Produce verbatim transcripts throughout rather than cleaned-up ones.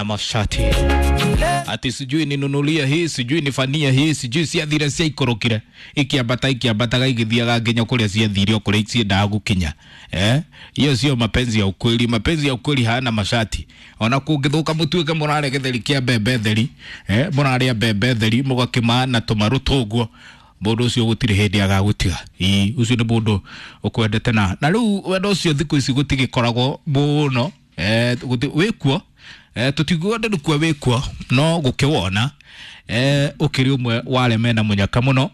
mashati ati sijui ninunulie hii, sijui nifanie hii, sijui ciathire ciaikorokire ikiambata ikiambataga igithiaga nginya kuria ciathire o kuria ciendaga gukinya. Eh, hiyo sio mapenzi ya ukweli. Mapenzi ya ukweli hayana mashati. Ona kungithuka mutuike murare githeri kia mbembe theri, eh, muraria mbembe theri mugakima na tumaru tuguo, mundu ucio gutire hindi agagutiga. Ii, ucio ni mundu ukwendete na na riu wendo ucio thiku ici gutigikoragwo muno. Eh, wikuo, eh, tutiguo ndukua wikuo no gukiwona, eh, ukiri umwe wale mena munyaka muno.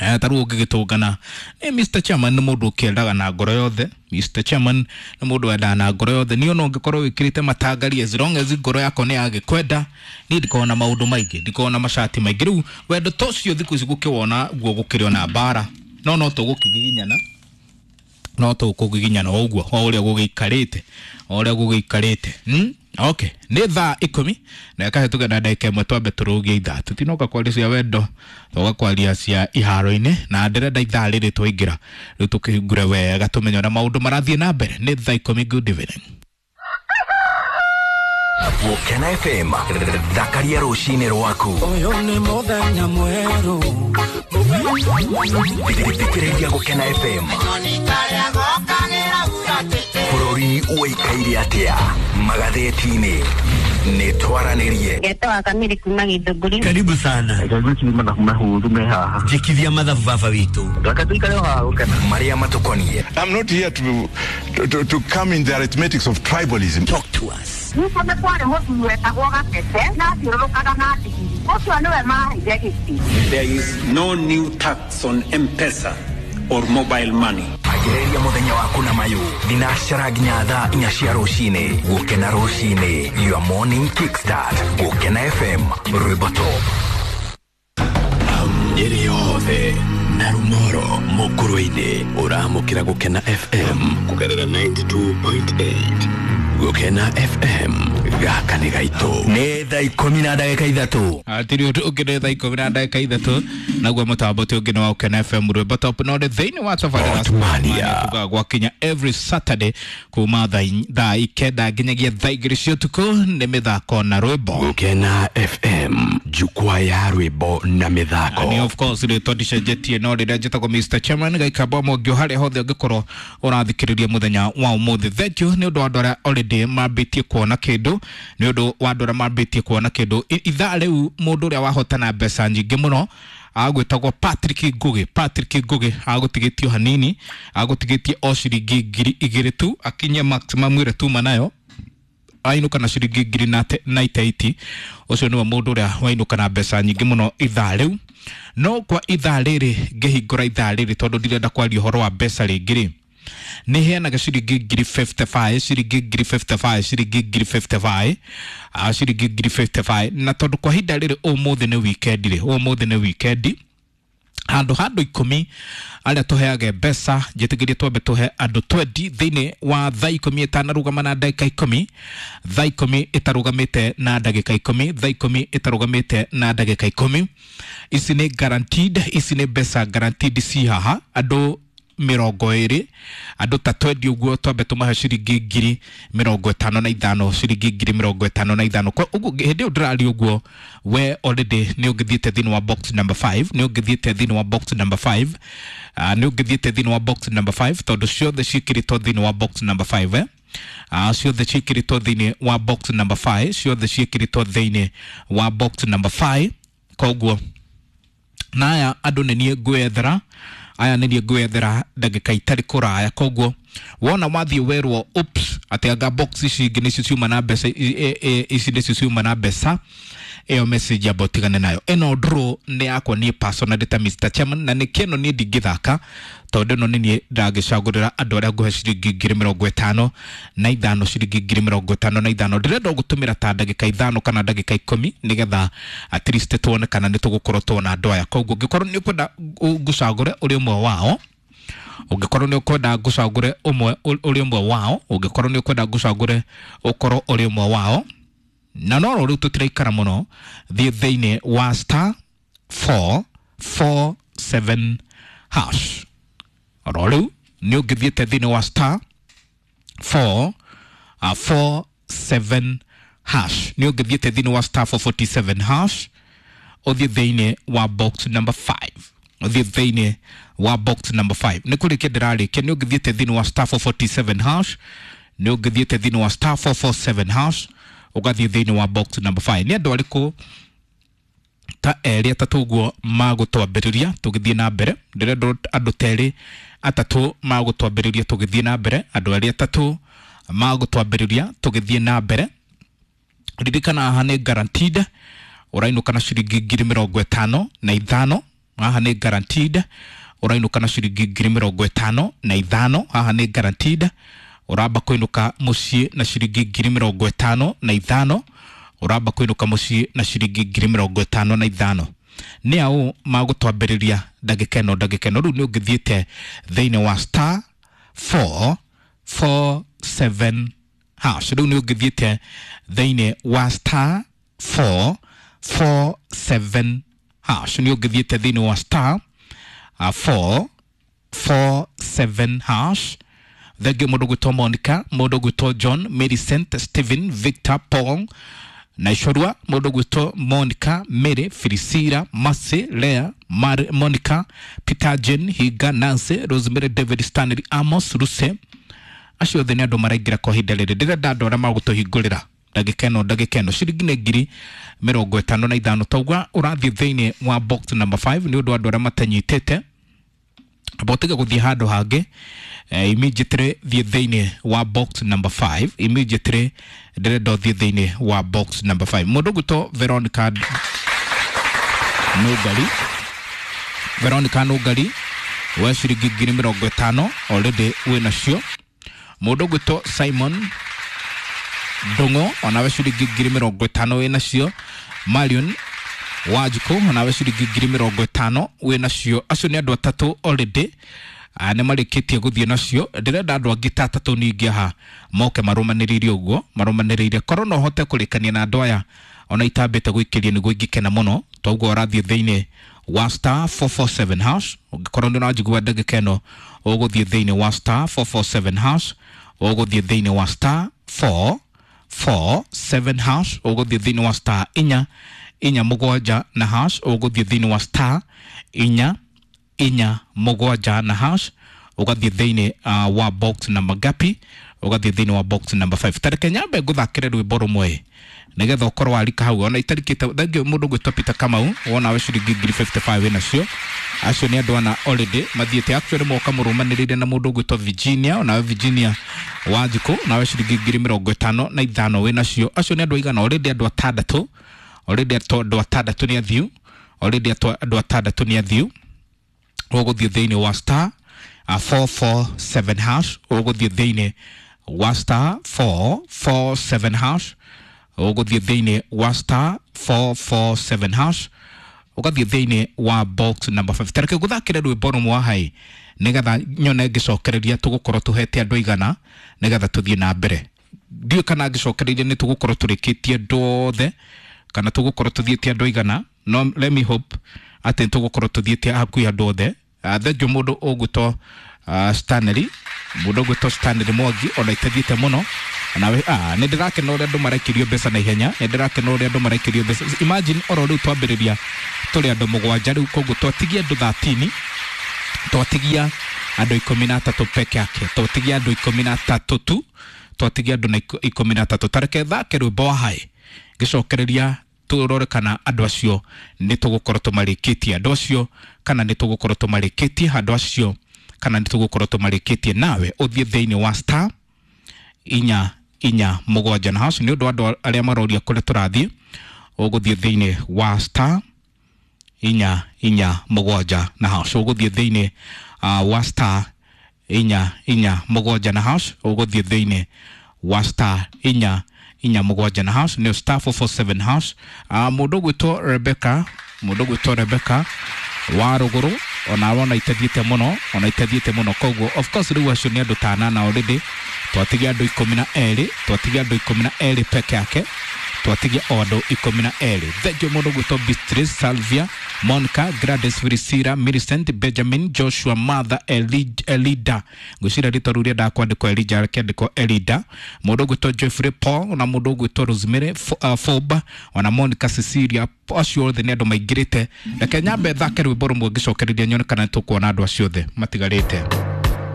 Eh, taru ungigitungana eh, Mister Chairman ni mundu ukiendaga na ngoro yothe. Mister Chairman ni mundu wendaga na ngoro yothe. Niyo no ngikorwo wikirite matangari, as long as ngoro yako ni yagikwenda, ni ndikorwo na maundu maingi, ndikorwo na mashati maingi. Riu wendo to cio thiku ici gukiwona guo gukiri ona mbara, no no tugukigiginyana, no tukugiginyana o uguo o uria gugiikarite, o uria gugiikarite. Hmm? Okay, ni thaa ikumi na ĩkahĩtũka na ndagĩka ĩmwe twambe tũrũgie ithaa. Tũtinoka kwaria cia wendo, tũgoka kwaria cia iharo-inĩ, na ndĩrenda ithaa rĩrĩ twaingĩra rĩu tũkĩhingũre wega tũmenye ũrĩa maũndũ marathiĩ na mbere. Nĩ thaa ikũmi. Good evening. Gũkena F M, thakaria rũcinĩ rwaku. Ũyũ nĩ mũthenya mwerũ. Thikĩrĩria Gũkena F M. Bũrũri ũikaire atĩa magathĩti-inĩ? Nĩ twaranĩrie. Ngetwa Kamiri kuma Githũngũri. Karibu sana. Njĩkithia mathabu baba witũ. Marĩa matũkoniĩ. I'm not here to, to, to come in the arithmetics of tribalism. Talk to us. Nĩguo nĩ kwarĩ mũthuri wetagwo Gatete na athiũrũrũkaga na ndigiri. Ũcio nĩwe maheire gĩtĩ. There is no new tax on M-Pesa or mobile money. Agĩrĩria mũthenya waku na mayũ thinacara nginya thaa inya cia rũcinĩ. Gũkena rũcinĩ, your morning kickstart. Gũkena F M, rwĩmbo top. Nyeri yothe na Rumoro mũkũrũ-inĩ ũramũkĩra Gũkena F M kũgerera ninety-two point eight. Gũkena F M, gaka nĩ gaitũ. Nĩ thaa ikũmi na ndagĩka ithatũ. Atiri ũndũ ũngĩ nĩ thaa ikũmi na ndagĩka ithatũ, naguo mũtambo ti ũngĩ nĩ wa Gũkena F M rwĩmbo top. No nĩ thĩinĩ wa tabarĩra Otmania. Tugaga gwakinya every Saturday kuma thaa ikenda nginyagia thaa igĩrĩ cia ũtukũ nĩ mĩthako na rwĩmbo. Gũkena F M, jukwaa ya rwĩmbo na mĩthako. Ni of course rĩtwa ndicenjetie, no rĩrĩa njĩtagwo Mister Chairman gaikamba mwongio harĩa hothe ũngĩkorwo ũrathikĩrĩria mũthenya wa ũmũthĩ. Thank you nĩ ũndũ wa andũ arĩa already mambĩtie kuona kĩndũ, nĩ ũndũ wa andũ arĩa mambĩtie kuona kĩndũ. Ithaa rĩu mũndũ ũrĩa wahotana mbeca nyingĩ mũno agwĩtagwo Patrick Ngugi. Patrick Ngugi agũtigĩtio hanini, agũtigĩtie o ciringi ngiri igĩrĩ tu, akinye maximum ĩrĩa tuma nayo ainũka na ciringi ngiri na itaiti. Ũcio nĩwe mũndũ ũrĩa wainũka na mbeca nyingĩ mũno ithaa rĩu. No kwa ithaa rĩrĩ ngĩhingũra ithaa rĩrĩ tondũ ndirenda kwaria ũhoro wa mbeca rĩngĩ rĩ, nĩ heanaga ciringi ngiri fifty-five, ciringi ngiri fifty-five, ciringi ngiri fifty-five, ah, ciringi ngiri fifty-five. Na tondũ kwa ihinda rĩrĩ ũmũthĩ nĩ weekend rĩ, ũmũthĩ nĩ weekend, handũ handũ ikũmi arĩa tũheage mbeca, njĩtĩkĩrie twambe tũhe andũ twenty thĩinĩ wa thaa ikũmi ĩtanarũgama na ndagĩka ikũmi, thaa ikũmi ĩtarũgamĩte na ndagĩka ikũmi, thaa ikũmi ĩtarũgamĩte na ndagĩka ikũmi. Ici nĩ guaranteed, ici nĩ mbeca guaranteed ci haha andũ mĩrongo ĩrĩ, andũ ta twenty ũguo twambe tũmahe ciringi ngiri mĩrongo ĩtano na ithano, ciringi ngiri mĩrongo ĩtano na ithano. Kwa ũguo hĩndĩ ĩyo ndĩraria ũguo, we already nĩ ũngĩthiĩte thĩinĩ wa box number five, nĩ ũngĩthiĩte thĩinĩ wa box number five, uh, nĩ ũngĩthiĩte thĩinĩ wa box number five tondũ ciothe ciĩkĩrĩtwo thĩinĩ wa box number five, eh? Uh, ciothe ciĩkĩrĩtwo thĩinĩ wa box number five, ciothe ciĩkĩrĩtwo thĩinĩ wa box number five. Koguo na aya andũ nĩ niĩ ngwethera, aya nĩ niĩ ngwethera ndagĩka itarĩ kũraya. Koguo wona wathiĩ werwo oops atĩ anga box ici ingĩ nĩcio ciuma na mbeca, ici nĩcio ciuma na mbeca, ĩyo message amba ũtigane nayo. Ĩno draw nĩ yakwa niĩ personally ta Mister Chairman, na nĩkĩo ĩno niĩ ndingĩthaka tondũ ĩno nĩ niĩ ndangĩcagũrĩra andũ arĩa ngũhe ciringi ngiri mĩrongo ĩtano na ithano, ciringi ngiri mĩrongo ĩtano na ithano. Ndĩrenda gũtũmĩra ta ndagĩka ithano kana ndagĩka ikũmi nĩgetha at least tuone kana nĩ tũgũkorwo tuona andũ aya. Koguo ũngĩkorwo nĩ ũkwenda ngũcagũre ũrĩ ũmwe wao, ũngĩkorwo nĩ ũkwenda ngũcagũre ũmwe ũrĩ ũmwe wao, ũngĩkorwo nĩ ũkwenda ngũcagũre ũkorwo ũrĩ ũmwe wao, na no rĩu tũtiraikara mũno, thiĩ thĩinĩ wa star four four seven hash. Oro rĩu nĩ ũngĩthiĩte thĩinĩ wa star four, uh, four seven hash nĩ ũngĩthiĩte thĩinĩ wa star four forty seven hash ũthiĩ thĩinĩ wa box number five ũthiĩ thĩinĩ wa box number five nĩ kũrĩkia ndĩrarĩkia nĩ ũngĩthiĩte thĩinĩ wa star four forty seven hash nĩ ũngĩthiĩte thĩinĩ wa star four four seven hash ũgathiĩ thĩinĩ wa box number five nĩ andũ arĩkũ ta erĩ atatũ ũguo magũtwambĩrĩria tũgĩthiĩ na mbere ndĩrenda andũ ta erĩ atatũ magũtwambĩrĩria tũgĩthiĩ na mbere andũ erĩ atatũ magũtwambĩrĩria tũgĩthiĩ na mbere ririkana haha nĩ guaranteed ũrainũka na ciringi ngiri mĩrongo ĩtano na ithano haha nĩ guaranteed ũrainũka na ciringi ngiri mĩrongo ĩtano na ithano haha nĩ guaranteed ũramba kũinũka mũciĩ na ciringi ngiri mĩrongo ĩtano na ithano ũramba kũinũka mũciĩ na ciringi ngiri mĩrongo ĩtano na ithano nĩ aũ magũtwambĩrĩria ndagĩka ĩno ndagĩka ĩno rĩu nĩ ũngĩthiĩte thĩinĩ wa star four four seven hash rĩu nĩ ũngĩthiĩte thĩinĩ wa star four four seven hash nĩ ũngĩthiĩte thĩinĩ wa star uh, four four seven hash thengio mũndũ gwĩtwo Monica mũndũ gwĩtwo John Millicent Stephen Victor Paul na Icorua mũndũ gwĩtwo Monica Mary Priscilla Mercy Lea Mar Monica Peter Jane Higa Nancy Rosemary David Stanley Amos Ruse acio othe nĩ andũ maraingĩra kwa ihinda rĩrĩ ndĩrenda andũ arĩa magũtũhingũrĩra ndagĩka ĩno ndagĩka ĩno ciringi nĩ ngiri mĩrongo ĩtano na ithano tauga ũrathiĩ thĩinĩ wa box number five nĩ ũndũ wa andũ arĩa matanyitĩte botiga gũthiĩ handũ hangĩ eh, immediately thiĩ thĩinĩ wa box number five immediately ndĩrenda ũthiĩ thĩinĩ wa box number five mũndũ ũgwĩtwo Veronica Nũngari Veronica Nũngari we ciringi ngiri mĩrongo ĩtano already wĩ nacio mũndũ ũgwĩtwo Simon Ndung'u onawe ciringi ngiri mĩrongo ĩtano wĩ nacio Marion Wanjikũ onawe ciringi ngiri mĩrongo ĩtano wĩ nacio acio nĩ andũ atatũ already nĩ marĩkĩtie gũthiĩ nacio ndĩrenda andũ angĩ ta atatũ ningĩ haha moke marũmanĩrĩire ũguo marũmanĩrĩire korwo no hote kũrĩkania na andũ aya ona itambĩte gũikĩria nĩguo ingĩkena mũno toguo ũrathiĩ thĩinĩ wa star four four seven hash ũngĩkorwo nĩ ũranjigua ndagĩka ĩno ũgũthiĩ thĩinĩ wa star four four seven hash ũgũthiĩ thĩinĩ wa star four four seven hash ũgũthiĩ thĩinĩ wa star inya inya mũgwanja na hash ũgũthiĩ thĩinĩ wa star inya inya mũgwanja na hash ũgathiĩ thĩinĩ uh, wa box number gapi ũgathiĩ thĩinĩ wa box number five tareke nyambe ngũthakĩre rwĩmbo rũmwe nĩgetha ũkorwo warika hau ona itarikĩte thengio mũndũ gwĩtwo Peter Kamau wona we ciringi ngiri fifty five wĩ nacio acio nĩ andũ ana already mathiĩte actually moka mũrũmanĩrĩire na mũndũ gwĩtwo Virginia onawe Virginia Wanjikũ nawe ciringi ngiri mĩrongo ĩtano na ithano wĩ nacio acio nĩ andũ aigana already andũ atandatũ already andũ atandatũ nĩ athiu already andũ atandatũ nĩ athiu ũgũthiĩ thĩinĩ wa star uh, four four seven hash ũgũthiĩ thĩinĩ wa star four four seven hash ũgũthiĩ thĩinĩ wa star four four seven hash ũgathiĩ thĩinĩ wa box number five tareke gũthakĩre rwĩmbo rũmwe hai nĩgetha nyone ngĩcokereria tũgũkorwo tũhete andũ aigana nĩgetha tũthiĩ na mbere ndiũĩ kana ngĩcokereria nĩ tũgũkorwo tũrĩkĩtie andũ othe kana tũgũkorwo tũthiĩte andũ aigana no let me hope atĩ nĩ tũgũkorwo tũthiĩte hakuhĩ andũ othe thengio mũndũ ũgwĩtwo uh, Stanley mũndũ ũgwĩtwo Stanley Mwangi ona itathiĩte mũno nawe ah nĩ ndĩrakena ũrĩa andũ maraikĩrio mbeca na ihenya nĩ ndĩrakena ũrĩa andũ maraikĩrio mbeca imagine oro rĩu twambĩrĩria tũrĩ andũ mũgwanja rĩu koguo twatigia andũ thirteen twatigia andũ ikũmi na atatũ peke yake twatigia andũ ikũmi na atatũ tu twatigia andũ na ikũmi na atatũ tareke thake rwĩmbo wa hai ngĩcokereria tũrore kana andũ acio nĩ tũgũkorwo tũmarĩkĩtie andũ acio kana nĩ tũgũkorwo tũmarĩkĩtie andũ acio kana nĩ tũgũkorwo tũmarĩkĩtie nawe ũthiĩ thĩinĩ wa star inya inya mũgwanja na hash nĩ ũndũ wa andũ arĩa maroria kũrĩa tũrathiĩ ũgũthiĩ thĩinĩ wa star inya inya mũgwanja na hash ũgũthiĩ thĩinĩ uh, wa star inya inya mũgwanja na hash ũgũthiĩ thĩinĩ wa star inya inya mũgwanja na hash nĩyo star four four seven hash uh, mũndũ ũgwĩtwo Rebecca mũndũ ũgwĩtwo Rebecca wa rũgũrũ ona wona itathiĩte mũno ona itathiĩte mũno koguo of course rĩu acio nĩ andũ ta anana already twatigia andũ ikũmi na erĩ twatigia andũ ikũmi na erĩ peke yake twatigia o andũ ikũmi na erĩ thengio mũndũ ũgwĩtwo Beatrice Salvia Monica, Gladys, Priscilla, Millicent, Benjamin, Joshua, Martha, Eli, Elida. Ngwĩciria rĩtwa rĩu rĩendaga kwandĩkwo Elijah rĩkĩandĩkwo Elida. Mũndũ ũgwĩtwo Jeffrey Paul na mũndũ ũgwĩtwo Rosemary Fo- uh, Foba ona Monica Cecilia, acio othe nĩ andũ maingĩrĩte. Reke nyambe thake rwĩmbo rũmwe ngĩcokereria nyone kana nĩtũkuona andũ acio othe matigarĩte.